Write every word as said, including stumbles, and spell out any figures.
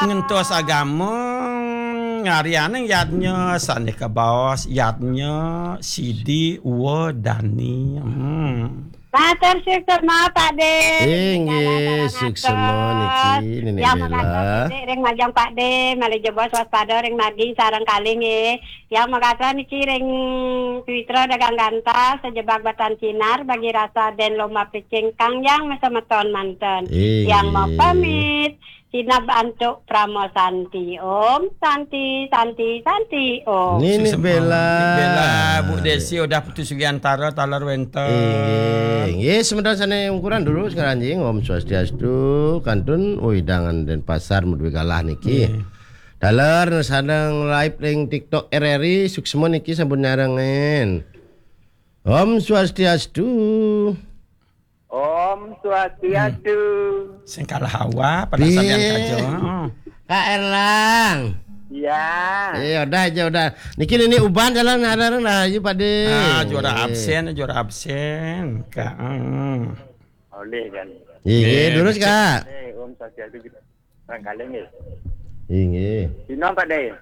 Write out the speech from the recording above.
Ngentos agama ngarianeng yadnya sane kabaos yadnya sidi uwa dani. Hmm. Matur suksma, Pak De. Inggih, suksma niki, Nenek Bella. Ring majeng Pak De, malih jebos waspada ring margi sareng kalih nggih. Yang makasa niki ring Twitra dagang gantah, sejebak batan sinar, bagi rasa den lomba picing kang yang masemeton manten. Inggih. Yang mapamit, sinab antuk Prama Santi. Om Santi, Santi, Santi, Om. Nenek Bella. Nenek Bella, Bu Desi, udah putus Sugiantara, taler wenten. Inggih, inggih, semeton sane ungkuran dulu sekarang, jing. Om Swastiastu, kantun, oh, hidangan Denpasar, Medwi Galah niki. Inggih. Taler, sadang live ring TikTok R R I, suksma niki sampun nyarengin. Om Swastiastu. Om Swastiastu. Sing kalah awak, pada sampeyan kaja. Heeh. Kak Erlang. Iya. Eh, udah aja, udah. Niki, nini uban jalan ada nah, ayo Pak De. Ah, juara absen, juara absen. Kak, hmm. Oleh kan. Iya, terus, Kak. Eh, Om Swastiastu kita. Barangkali nggih. Inggih. Dina, Pak De.